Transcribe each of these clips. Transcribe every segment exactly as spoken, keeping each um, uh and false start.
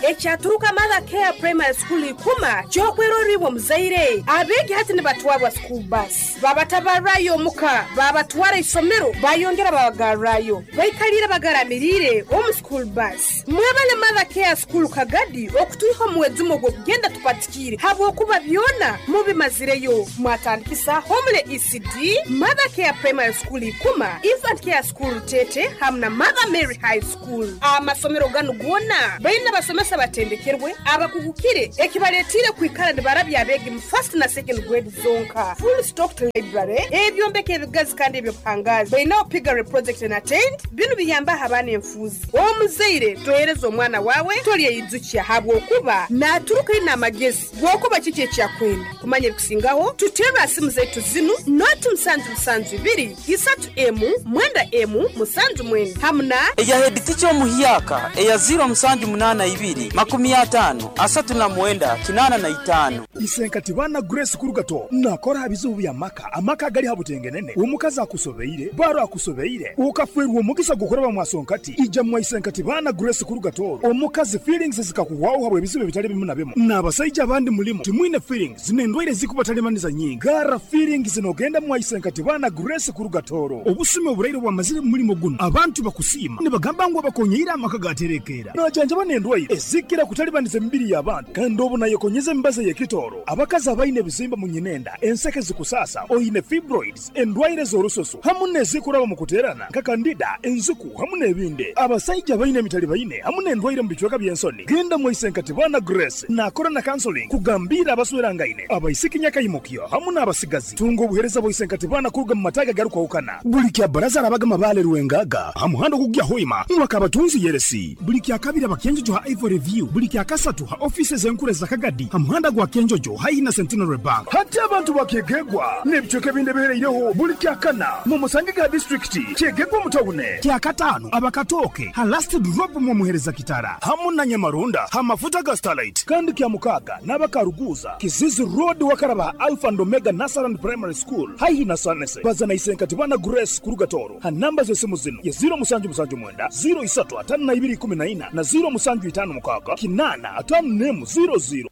Ekyaturuka Mother Care Primary School ikuma kyokweroribwa omuzaire. Abeegi hati nibatwarwa school bus, babatabarrayo omuka, babatwara isomero, bayongera babagarrayo, baikalire bagaramiriire omu school bus. Mwebale Mother Care School Kagadi okutwiha omuwezumo gw'okugenda tupatikiire, habwokuba byona mubimazireyo. Mwatandikisa Homule E C D, Mother Care Primary School ikuma, Infant Care School Tete hamu na Mother Mary High School. Amasomero ganu gona baina basomesa batendekerwe abakugukire ekibaletire kwikara nibarabya abeegi mu first na second grade zonka. Full stocked library, ebyombeko ebigazi kandi ebyobuhangazi. Bainaho piggery project and attend binu biyamba abaana enfuuzi. Omuzaire tohereza omwana wawe tolyeyijukya habwokuba naturuka ina amagezi gwokuba kiki ekyakwenda kumanya ebikusingaho. Tuterwa simu zaitu zinu noti musanju musanju ibiri isatu emu mwenda emu musanju mwenda hamuna eya head teacher omuhyaka eya zero musanju munana ibiri makumi atano asatu na mwenda kinana na itano. Isenkati bana Grace Kurugato nakora bizibu bya maka amaka gali habutengenene omukazi akusobeire baro akusobeire ukafwerwa omugisa gukora mwasonkati ija mwa Isenkati bana Grace Kurugato omukazi feelings zikakuwaho habwe bizibu bitali bimu na bimu n'abasajja abandi mulimo timwine feelings zinendwaire zikubatalimanisa nyingi gara feelings zinogenda mwa Isenkati bana Grace Kurugatoro obusime oburaire bwamazire mulimo guno abantu bakusima nibagamba ngo bakonyeira amaka gaterekera najanja banendwaire ezikira kutalibaniza emibiri y'abantu kandi obu nayekonyeza embaze yekitoro abakazi abaine ebizimba mu nyinenda enseke zikusasa oine fibroids endwaire z'orusoso hamu nezikuraba mu kuterana nka kandida enzuku hamu n'ebindi abasajja baine emitali baine hamu n'endwaire mu bicweka by'ensoni genda mu Isenkati bana Grace nakora na counseling kugambira abaswerangaine abaisiki nyakayimukyo hamu n'abasigazi tunga obuhereza bwa Isenkati bana kuruga mu mataga garukwahukana buli kya baraza arabaga mabale ruwengaga hamuhando kugya hoima mwakabatunzi yeresi buli kya kabiri abakenjojo ha Ivory View buli kya kasatu ha offices enkure za Kagadi hamuhanda gwa Kenjojo haina Centenary Bank hati abantu bakegegwa n'ebicweka binde bihereireho buli kya kana mu musange ga district kyegegwa mutawune kya katano abakatoke ha last drop mu muhereza kitara hamu na Nyamarunda ha mafuta ga Starlight kandi kya mukaga n'abakaruguza Kizizi Road wakaraba Alpha and Omega Nasaran Primary School haihi na Sanese bazana Isenkati bana Grace Kurugatoro ha namba z'esimu zino ya zero musanju musanju mwenda zero isatu atano na ibiri kumi na ina na zero musanju itano mukaga kinana atano nemu zero zero.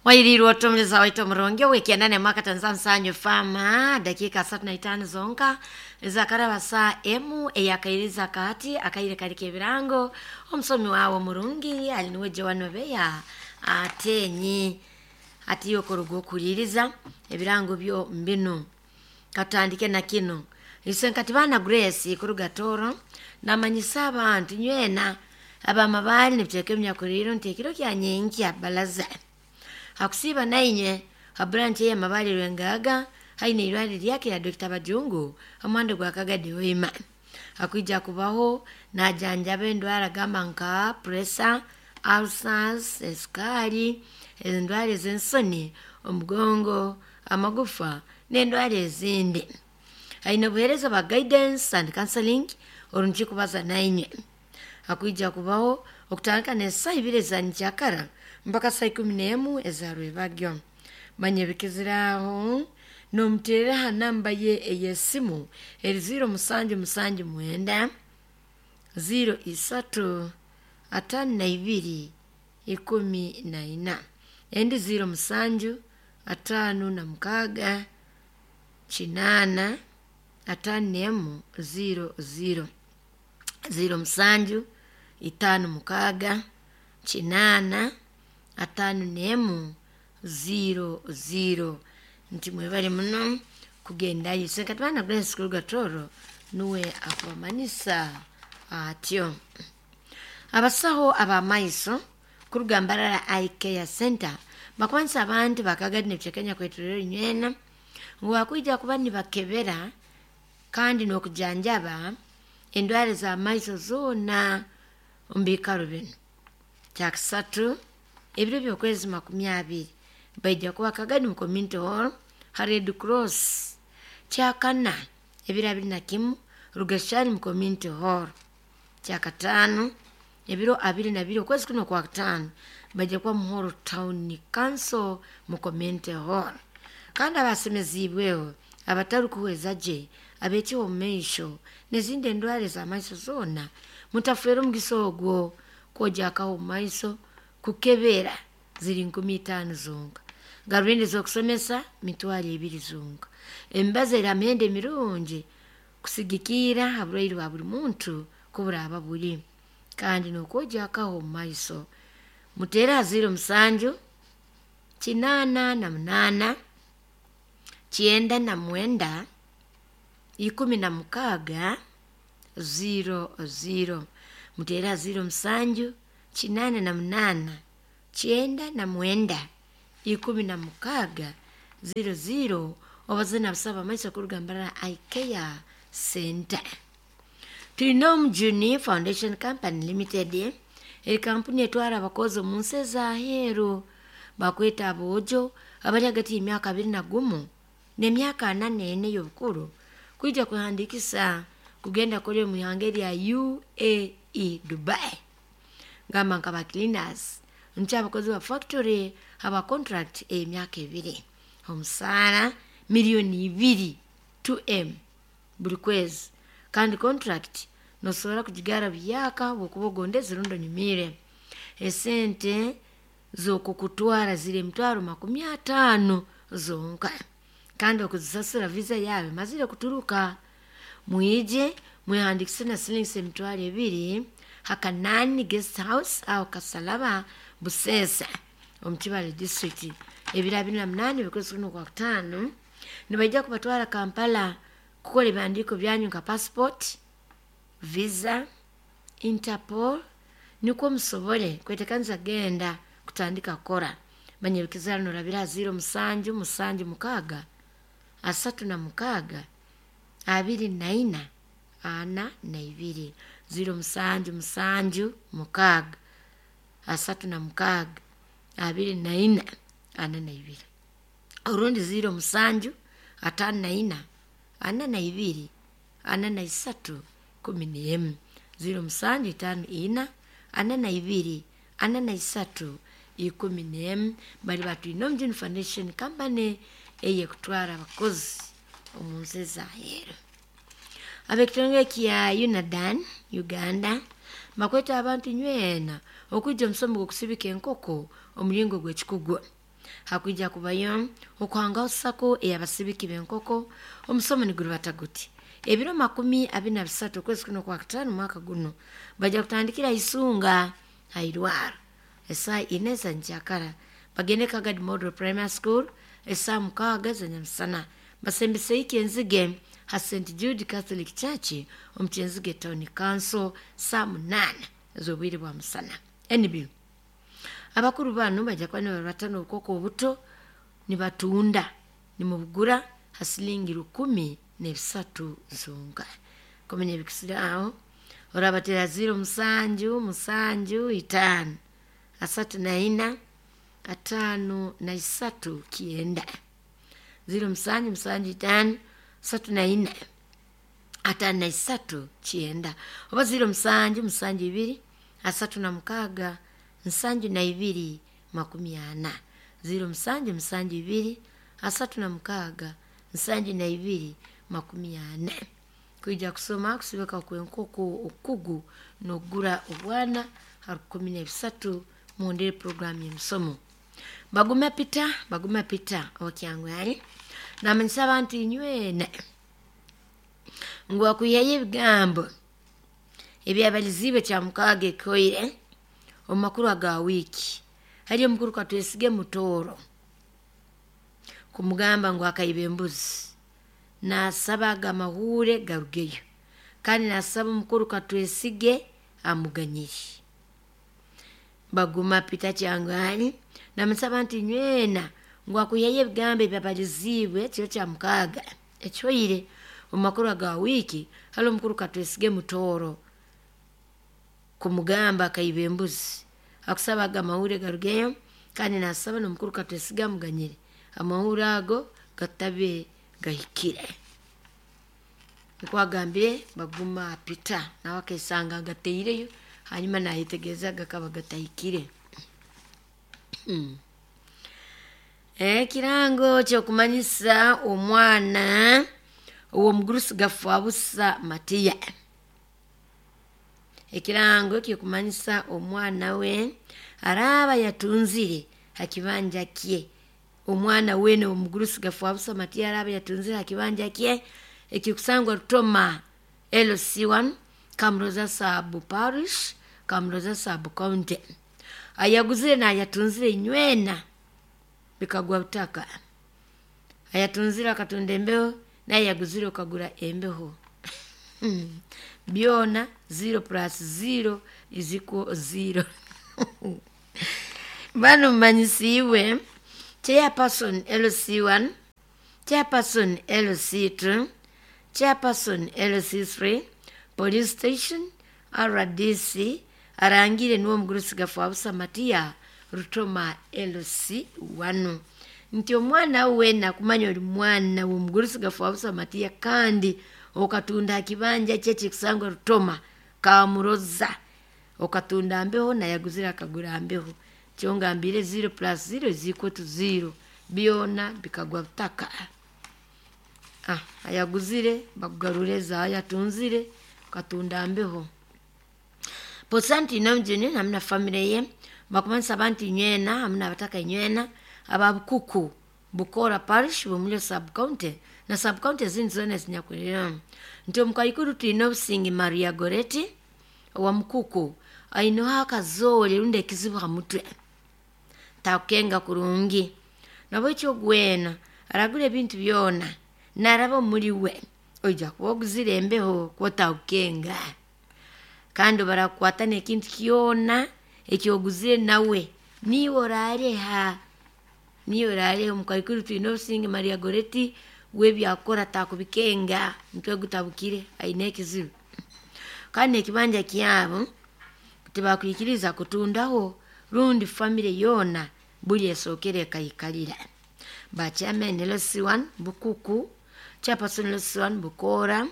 Wairirwa otomleza waito mronge wekianane mwaka Tanzania sanyu fama dakika satu na itano zonka zakaraba saa emu eyakairiza kati akaire karike birango omusomi wawo murungi aliniwe Joan Obeya atenyi atiyo korugo kuliriza ebirango byo mbinu katandike na kino Isenkati bana Grace Kurugatoro namanyisa abantu nywena abamabali nibiteke myakuriro ntekiro kya nyenki balaza hakusiba nainye ha branch ya mabali rwengaga haine irwali lyake ya Doctor Bajungu amwando gwa Kagadi wema akuija kubaho na janjabe endwara gamba nka pressure, ulcers, esukari, endwara z'ensoni, omugongo, amagufa n'endwara ezindi. Haine buhereza ba guidance and counseling orungi kubaza nainye akuija kubaho okutandika n'esaa ibiri za njakara mpaka saa ikumi n'emu ezarwebagyo. Manye bikiziraho nomuterera ha namba ye ey'esimu eri zero musanju musanju mwenda zero isatu atano na ibiri ikumi na ina endi zero musanju atano na mukaga chinana atano n'emu zero zero zero musanju itano mukaga chinana atano n'emu zero zero. Nti mwebale muno kugendayo. Isenkati bana Grace Kurugatoro nuwe akubamanisa atyo. Abasaho abamaiso kurugambarara Eye Care Center bakwanisa abantu bakagadi nebicekenya kweturero nywena ngu bakwija kuba nibakebera kandi n'okujanjaba endwara z'amaiso zoona omu biikaro binu. Kyakisatu ebiro by'okwezi makumi abiri baija kuba Kagadi mu community hall ha Red Cross. Kyakana ebiro abiri na kimu Rugashani mu community hall. Kyakataano ebiro abiri na bibiri okwezi kuno kwa kataano baija kuba Muhoro Town Council mu community hall. Kandi abasemezibweho abatarikuhweza gye abekiwa omu maisho n'ezindi endwara z'amaiso zoona Mutafera omugisa ogwo kwojakaho omu maiso kukebera ziri nkumi itaano zonka, garubindi z'okusomesa mitwaro ebiri zonka. Emibazi eri ha mihendo emirungi kusigikiira ha burwaire bwa buli muntu kuburaaba buri, kandi n'okwojakaho omu maiso. Muteere ha ziro musanju kinaana na munaana kyenda na mwenda ikumi na mukaaga ziro ziro. Muteere ha ziro musanju kinaana na munaana kyenda na mwenda ikumi na mukaaga ziro ziro. Obaze nabasaba amaiso kuruga Mbarara Eye Care Center. Tulina Omujuni Foundation Company Limited, eri kampuni etwara abakozi omu nsi ez'aheeru bakweta aboojo abali hagati y'emyaka abiri na gumu n'emyaka ana n'ena ey'obukuru kwija kwehandiikisa kugenda kukora omu ihanga erya U A E Dubai. Gamba nka ba cleaners, nti abakozi ba factory aba contract ey'emyaka ebiri, omusaara miliyoni ibiri two M buri kwezi, kandi contract nosobora kugigara buyaka bwokuba ogondeze rundi onyumiire. Esente z'okukutwara ziri emitwaro makumi ataano zonka, kandi okuzisasura visa yawe emazire kuturuka. Mwije mwehandiikise na silingi emitwaro ebiri Hakanani Guest House aho Kasalaba Busesa omu Kibale district. Ebiro abiri na munaana ebikwezi kuno kwa kutaano nibaija kubatwara Kampala kukora ebihandiiko byanyu nka passport, visa, Interpol, nikwo musobole kweteekaniza genda kutandika kukora. Manya ebikizaaro norabira ha ziro musanju musanju mukaaga asatu na mukaaga abiri na ina ana na ibiri. Ziro musanju musanju mukaaga asatu na mukaaga abiri na ina ana na ibiri. Orundi ziro musanju ataano na ina ana na ibiri ana na isatu kumi n'emu. Ziro musanju itaano ina ana na ibiri ana na isatu ikumi n'emu. Bali batwine Omujuni Foundation Company eyekutwara abakozi omu nsi ez'aheeru. Ab'ekitongole kya UNADAN Uganda bakweta abantu nywena okwija omusomo gw'okusibika enkoko omuringo gw'ekikugu. Hakwija kubayo okuhangaho sako ey'abasibiki b'enkoko. Omusomo nigurubata guti: ebiro makumi abiri na bisatu okwezi kuno kwa kutaano mwaka guno bajja kutandikira Isunga hairwaro esaa ina za nkyakara, bagende Kagadi Model Primary School esaa mukaaga za nyamusana, basembeseiki enzige ha Saint Jude Catholic Church omu Kyenzige Town Council saa munaana ez'obwire bwa musana. N B abakuru bano bajja kuba nibabatana obukoko obuto nibatunda nimubugura ha silingi rukumi n'ebisatu zonka. Kumenya ebikisire aho orabatera ziro musanju musanju itaano asatu na ina ataano na isatu kienda. Ziro musanju musanju itaano asatu na ina ataano na isatu kienda. Oba ziro musanju musanju ibiri asatu na mukaaga nsanju na ibiri makumi ana. Ziro musanju musanju ibiri asatu na mukaaga nsanju na ibiri makumi ana. Kwija kusoma kusibika kwenkoko okugu n'okugura obwana ha rukumi n'ebisatu muhondere programu y'emisomo. Baguma pita baguma pita okyangwari namanyisa abantu inywena ngu akwihayo ebigambo ebyabaliziibwe kya mukaaga ekoire omu makuru aga wiiki. Hariyo omukuru Katwesige Mutooro kumugamba ngu akaiba embuzi, nasaba aga amahuure garugeyo, kandi nasaba omukuru Katwesige amuganyire. Baguma pita kyangwani namusaba nti nywena ngu akwihayo ebigambo ebyabaliziibwe kiro kya mukaaga ekyoire omu makuru aga wiiki. Hariyo omukuru Katwesige Mutooro kumugamba akaiba embuzi, akusaba aga amahuure garugeyo, kandi nasaba n'omukuru Katwesige amuganyire amahuure ago gatabe gahikire. Nikwo agambire Baguma Pita, nawe akesanga agateireyo hanyuma nayetegereza gakaba gatahikire. Ekirango ky'okumanyisa omwana ow'omugurusi Gafabusa Matiya. Ekirango kikumanyisa omwana we araba yatunzire hakibanja kye. Omwana wene omugurusi Gafwabusa Matiya araba yatunzire hakibanja kye ekikusangwa Rutoma L C one Kamuroza Sub Parish, Kamuroza Sub County. Ayaguzire na yatunzire inywena bikagwa butaka. Ayatunzire akatunda embeho, naye yaguzire okagura embeho. Byona zero plus zero is equal zero. Bano manyisiwe chairperson L C one, chairperson L C two, chairperson L C three, police station R D C arangire nuwo mugurusi Gafwabusa Matiya Rutoma L C one. Nti omwana wena kumanya oli mwana w'omugurusi Gafwabusa Matiya kandi okatunda kibanja kye kikusangwa Rutoma Kamuroza, okatunda mbeho nayaguzira akagura mbeho. Kyongambire zero plus zero is equal to zero, byona bikagwa butaka. Ah, ayaguzire bakugarureza ayatunzire katunda mbeho. Posanti namjini namna family ye bakumanisa abantu nywena amna bataka nywena ababukuku Bukora Parish bumulyo sub county na sub county zindi zona zinyakulira. Nti omukaikuru tulina obusingi Maria Goreti wa Mukuku ainoho akazoole rundi ekizibu ha mutwe takukenga kurungi nabwekyo gwena aragura ebintu byona naraba omuri we oija kuba oguzire embeho kwotakukenga kandi barakukwata n'ekintu kyona ekyoguzire nawe niiwe orareha niiwe orareha. Omukaikuru tulina obusingi Maria Goreti webyakora takubikenga mutwe gutabukire aine ekizibu. Kandi ekibanja kyabo tibakwikiriza kutundaho rundi family yona buli esokere ekaikalira. Ba chairman L C one Bukuku, chairperson L C one Bukora,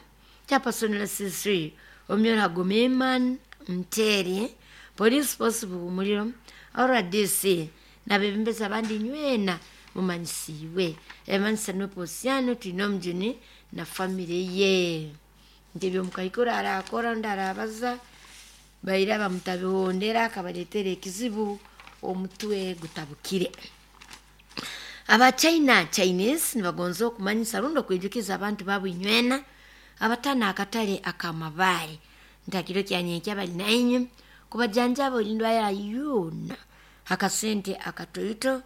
chairperson L C three Omyora Gomeman Mteri, police force Bumuliro, R D C nabebembeza abandi nywena mumanyisiwe emanyisa noposiano tulina omujuni na family ye. Nti ebyomukaikuru arakora rundi arabaza baira bamutabihondera akabaletera ekizibu omutwe gutabukire. Aba China Chinese nibagonza okumanyisa rundi okwijukiza abantu baabo inywena abatana akatale akamabare ntakiro kyanyenkya bali nainywe kubajanjaba olindwara yona akasente akatoito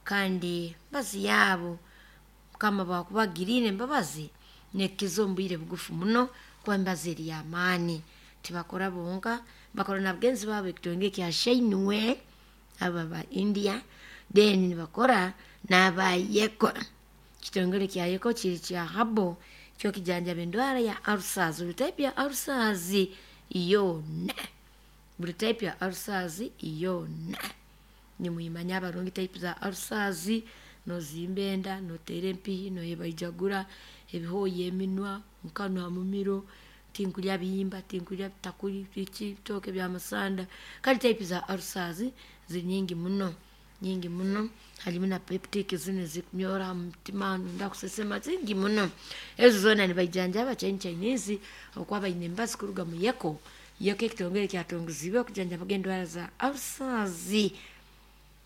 kandi mbazi yabo kama bakubagirire embabazi nekizo mbwire bugufu muno kuba embazi eri y'amaani. Tibakora bonka bakora na bagenzi baabo ekitonge kya Shinwe aba ba India, then nibakora n'abayeko. Kitongole kya Yeko kiri kya habo kyo kijanjaba endwara ya ulcers, buli type ya ulcers yona, buli type ya ulcers yona. Nimwimanya abarungi type za ulcers, nozimba enda, noteera empihi, noyebaijagura ebihooya eminwa, mukanwa mumiro, tinkulya bihimba, tinkulya bitakuli, biki bitooke byamasanda. Kale type za ulcers ziri nyingi muno nyingi muno. Halimu na peptic zino zikunyora mutima nunda kusesema zingi muno. Ezo zona nibaijanjaba Chinese Chinese okuba baine embazi kuruga mu Yeko. Yeko ekitongole kyatongozibwe okujanjaba endwara za ulcers.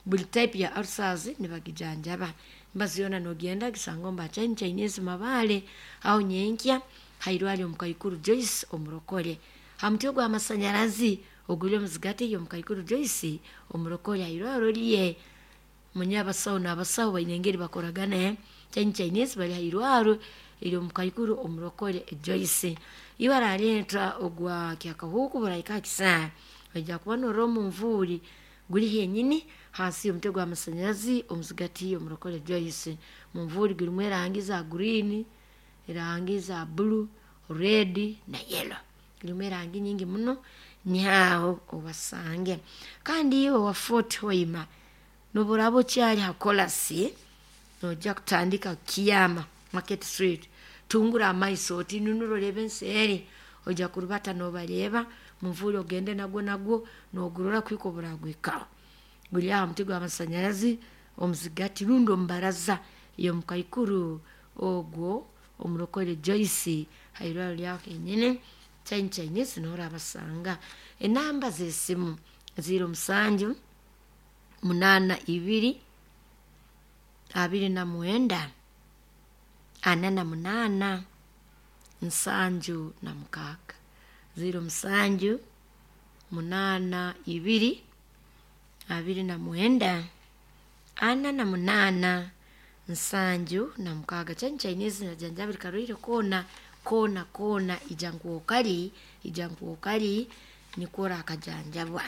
Buli type ya ulcers nibagijanjaba. Embazi yona nogenda gisanga omu ba Chinese Chinese Mabale aho nyenkya hairwari omukaikuru Joyce omurokore. Ha mutwe gw'amasanyarazi oguli omuzigati y'omukaikuru Joyce omurokore hairwaro rye. Munye abasawo n'abasawo baine engeri bakoragana. Chinese Chinese bali hairwaro eri omukaikuru omurokore Joyce. Iwe arareetwa ogwa kyakahuuku buraika kisaa oija kuba norora omunvuuri guri henyini hansi y'omutwe gw'amasanyarazi omuzigati y'omurokore Joyce. Munvuuri gurimu erangi za green, erangi za blue, red na yellow. Gurimu erangi nyingi muno nihaho obasange. Kandi iwe wa Fort Hoima noburaba okyali ha kolasi noija kutandika Kiyama Market Street, tungura amaiso oti nunura orebe enseeri oija kurubata nobareeba munvuuri ogende nagwo nagwo nogurora kuhika oburagwikaho. Guri aha muti gw'amasanyarazi omuzigati rundi omubaraza y'omukaikuru ogwo omurokore Joyce hairwaro ryaho henyini. China Chinese norabasanga. Enamba z'esimu ziro musanju munana ibiri abiri na mwenda ana na munana nsanju na mukaaga ziro musanju munana ibiri abiri na mwenda ana na munana nsanju na mukaaga. China Chinese najanjabiri karwire kona kona kona ijanguokali ijanguokali nikora akajanjabwa.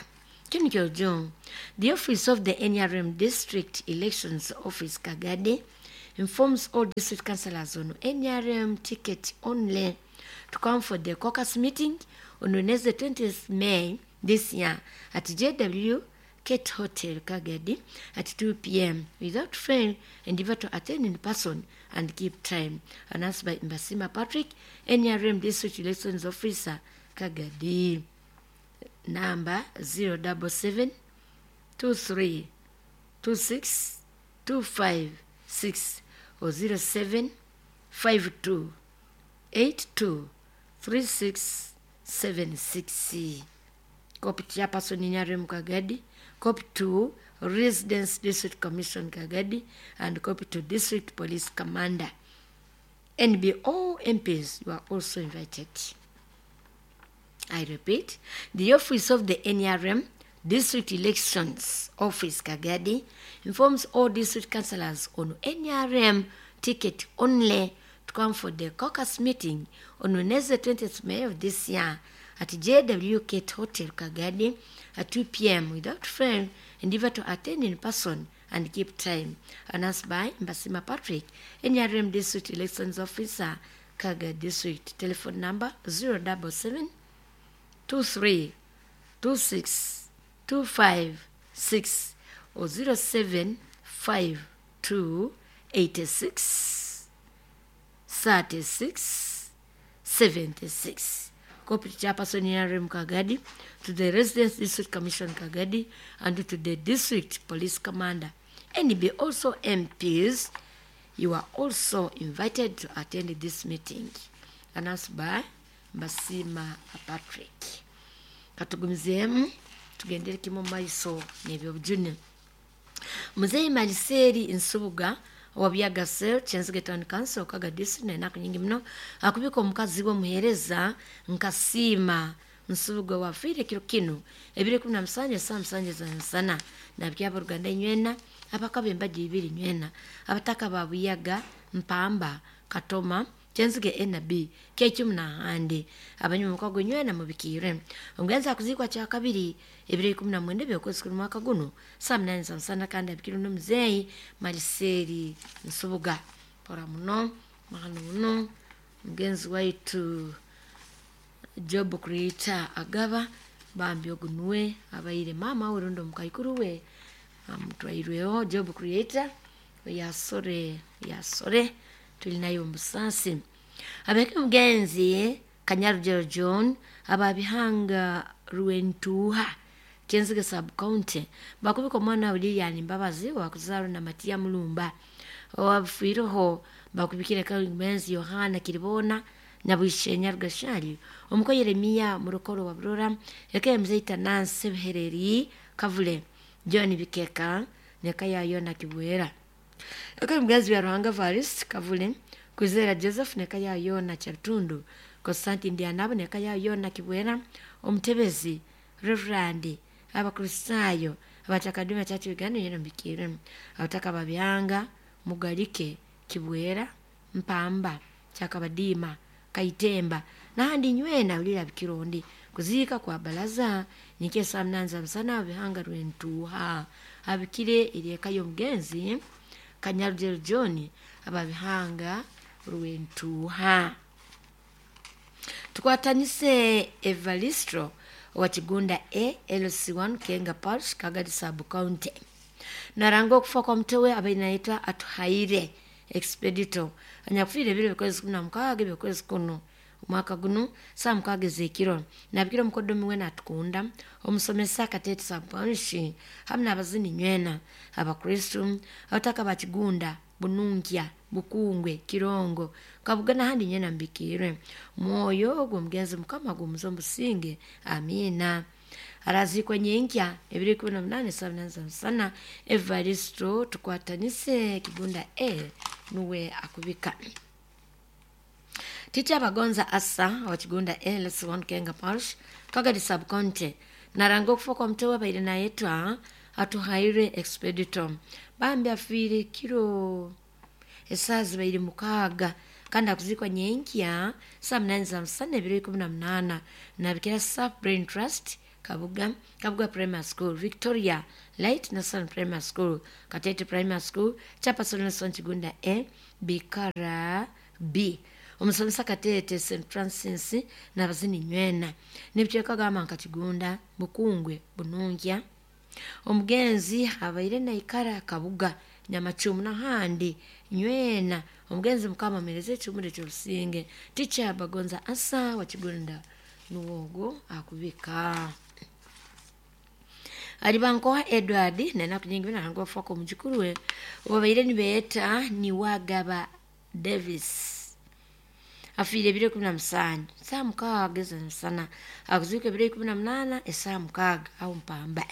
Kino kyojo. The office of the N R M District Elections Office Kagadi informs all district councillors on N R M ticket only to come for the caucus meeting on Wednesday twentieth May this year at J W Kate Hotel Kagadi at two p m without fail, endeavor to attend in person and keep time. Announced by Mbasima Patrick, N R M District Elections Officer Kagadi. Number zero double seven two three two six two five six or zero seven five two eight two three six seven six. Copy chairperson N R M Kagadi, copy to Residence District Commission Kagadi, and copy to District Police Commander. N B O M Ps, you are also invited. I repeat, the office of the N R M District Elections Office Kagadi informs all district councillors on N R M ticket only to come for the caucus meeting on Wednesday twentieth May of this year at J W Kate Hotel Kagadi at two p m without fail, endeavor to attend in person and keep time. Announced by Mbasima Patrick, N R M District Elections Officer, Kagadi District. Telephone number zero double seven two three two six two five six or zero seven five two eighty six thirty six seventy six. Copy to Chairperson N R M Kagadi, to the Residence District Commission Kagadi, and to the District Police Commander. N B also M Ps, you are also invited to attend this meeting. Announced by Mbasima Patrick. Katugumizeemu tugendere kimu maiso n'ebyobujune. Muzeeyi Maliseri Nsubuga owa Byagasel Kyenzige Town Council Kaga District n'enaku nyingi muno akubika omukazi we omuheereza Nkasiima Nsubuga wafiire kiro kinu ebiro ikumi na musanju esaa musanju ez'emisana nabiki abooruganda nywena abakaba embaga ibiri nywena abataka ba Buyaga Mpamba Katoma Kyenzige N B Kekimu n'ahandi abanyuma mukago nywena mubikiire. Omugenzi akuziikwa kyakabiri ebiro ikumi na mwenda eby'okwezi kuri mwaka guno saa munani za musana kandi abikirwe n'omuzeeyi Maliseri Nsubuga. Pora muno mahano muno mugenzi waitu Job Creator agaba bambi ogunuwe abaire mama we rundi omukaikuru we amutwairweho Job Creator yasore yasore tuli nayo omusaasi. Abeke mugenzi Kanyarugero John ababihanga Rwentuha Kyenzige sub county bakubika omwana we Lilian Mbabazi wakuzarwa na Matia Mulumba owafiireho bakubikire mugenzi Yohana Kiribona na Bwishenya Rugashari omuko Yeremiya Murokoro wa Burora eka mzeita Nancy Buhereri Kavule John Bikeka neka ya Yona Kibwera eka mugenzi wa Ruhanga Varis Kavule Kwizera Joseph neka ya Yona Chatundu Constantine Ndianabo neka ya Yona Kibwera omutebezi Reverend Abakristayo abatakaduma church Uganda yeno mbikire abataka babyanga Mugalike Kibwera Mpamba Chakabadima Kaitemba nahandi nywena ulira bikirondi kuziika kwa balaza nikesa mnanza msana bihanga rwentuha abikire ereka y'omugenzi Kanyarugero John ababihanga rwentuha. Tukwatanise Evalistro wa Kigunda A L C one Kenga Parish Kagadi Sub County. Naranga okufa kwa mtewe abainaitwa Atuhaire Expedito anyakufiire ebiro bikozi kumi na mukaaga ebyokwezi kuno omwaka guno saa mukaaga ez'ekiro nabikira omukoddomi we natukunda omusomesa Katete Sub-Parish hamu n'abazini nywena abakristu abataka ba Kigunda Bununkya Bukungwe, Kirongo, Kabuga n'ahandi nywena mbikiirwe. Mwoyo gw'omugenzi Mukama gumuze omusinge. Amiina. Arazikwa nyenkya ebiro ikumi na munane saa munane za musana. Evaristo Tukwatanise Kigunda A nuwe akubika. Titi Abagonza Asa wa Kigunda A L S one Kenga Parish, Kagadi Sub County naranga okufa kwa muto wabaire nayetwa Atuhaire Expedito. Bambi afiire kiro esaaha zibaire mukaaga, kandi akuzikwa nyenkya saa munane za musana ebiro ikumi na munana. Nabikira Saf Brain Trust Kabuga, Kabuga Primary School, Victoria Light National Primary School, Katete Primary School, Chairperson Nelson Kigunda A, Bikara B, omusomesa Katete Saint Francis n'abazini nywena n'ebicweka gamba nka Kigunda, Bukungwe, Bunungya. Omugenzi abaire naikara Kabuga, Nyamacumu n'ahandi nywena. Omugenzi Mukama amereze ekihumuro ekyobusinge. Ticha Bagonza Asa wa Kigunda nuwogo akubika. Alibankoha Edward nenaku nyingi binaranga ofuka omujukuru we obabaire nibeeta Niwagaba Davis afiire ebiro ikumi na musanju saa mukaaga ez'emisana, akuziika ebiro ikumi na munaana esaa mukaaga aho Mpamba.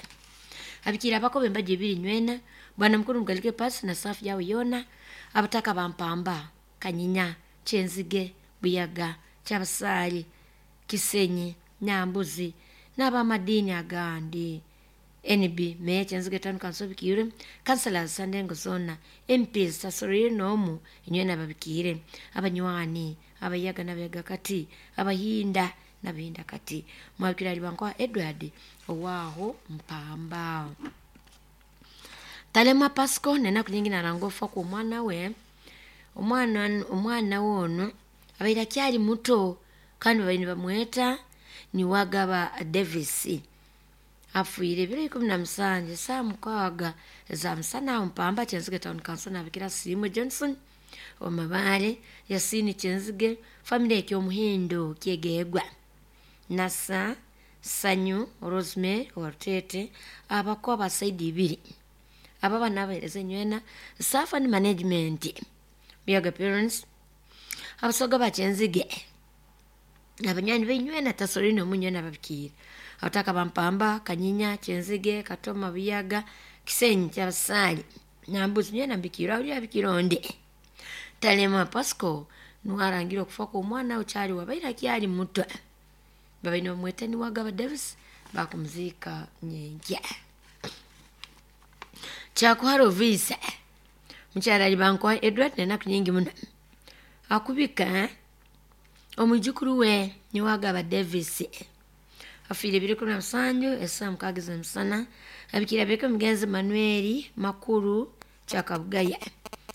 Abikiire abakoba embaji ebiri nywena, bwana mukuru Mugalike Pasi na safu yawe yoona, abataka ba Mpamba, Kanyinya, Kyenzige, Buyaga, Kyabasaali, Kisenyi, Nyambuzi n'abamadiini agandi. N B meya Kyenzige Town Council bikiire, councillors sandengo zona, M Ps tasorire n'omu inywena babikiire, abanywani Abayaga n'Abayaga kati, Abahinda n'Abahinda kati. Mwabikira Alibankwa Edward owaaho Mpamba. Talema Pasco nenaku nyingi naranga ofa ku omwana we. Omwana omwana we ono abaire akyali muto kandi babaire nibamweta Niwagaba Davis afiire ebiro ikumi na musanju saa mukaaga za musana aho Mpamba Kyenzige Town Council. Nabikira Siimwe Johnson Omabaale, Yasini Kyenzige, family ekyomuhindo Kyegegwa, Nasa Sanyu Rosemary Orutete, abako abasaidi ibiri aba bana abahereza enywena, staff and management, Buyaga parents, Abasoga ba Kyenzige, abanywani b'enywena tasorine omunywena babikiire, abataka ba Mpamba, Kanyinya, Kyenzige, Katoma, Buyaga, Kisenyi, Kyabasaali, Nyambuzi nywena mbikiire. Awulira bikironde. Talema Pasco nuwarangira okufa kw'omwana okyali wabaire akyali muto babaine bamweta Niwagaba Davis, bakumuziika nyenkya. Kyakuhara Ovisa mukyala Alibankwa Edward nenaku nyingi muno akubika omwijukuru we Niwagaba Davis afiire ebiro ikumi na musanju esaa mukaaga ez'emisana. Abikire abeke omugenzi Manueli Makuru Kyakabugaya,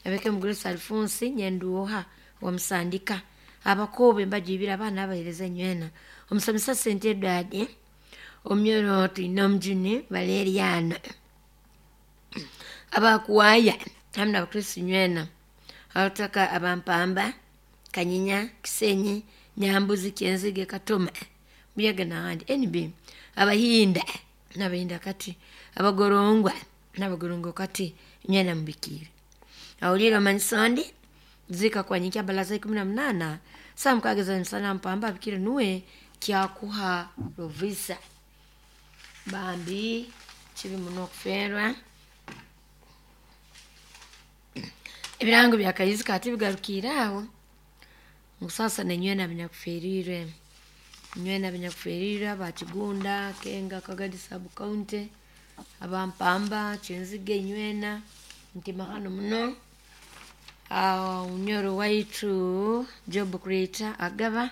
abeke Mugurisa Alfonsi Nyenduoha wamusandika, abakoba embaji ibiri, abaana abahereza enywena, omusomesa Sente Edward omuyoro, twine omujuni Valeriano, abakuwaya hamu n'Abakristu nywena, abataka Abampamba, Kanyinya, Kisenyi, Nyambuzi, Kyenzige, Katoma, Buyaga n'ahandi, N B Abahinda n'Abahinda kati, Abagorongwa n'Abagorongo kati nywena mubikiire. Awulire omanyisondi zika kwanyikya balaza ikumi na munana saa mukaaga ez'emisana Mpamba. Abikire nuwe Kyakuha Lovisa. Bambi kibi muno okufeerwa. Ebirango byakayizi kati bigarukiire aho ngu sasa nenywena binyakuferirwe, nywena binyakuferirwe Abakigunda, Kenga, Kagadi Sub County, Abampamba, Kyenzige nywena nti mahano muno. Unyoro waitu job creator agaba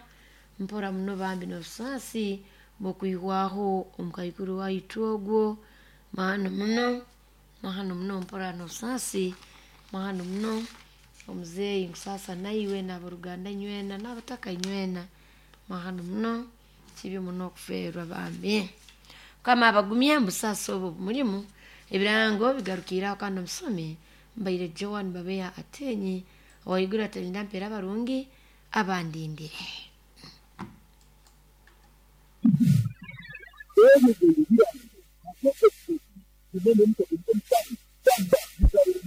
mpora muno bambi n'obusaasi bw'okwihwaho omukaikuru waitu ogwo. Mahano muno, mahano muno, mpora n'obusaasi, mahano muno omuzeeyi. Nkusaasa naiwe n'aboruganda nywena n'abataka nywena. Mahano muno, kibi muno okufeerwa bambi. Mukama abagumye mubusaasi obwo bumulimu. Ebirango bigarukiire aho kandi omusomi mbaire Joan Babeya Atenyi owaiguru atalinda mpeera abarungi abandindire.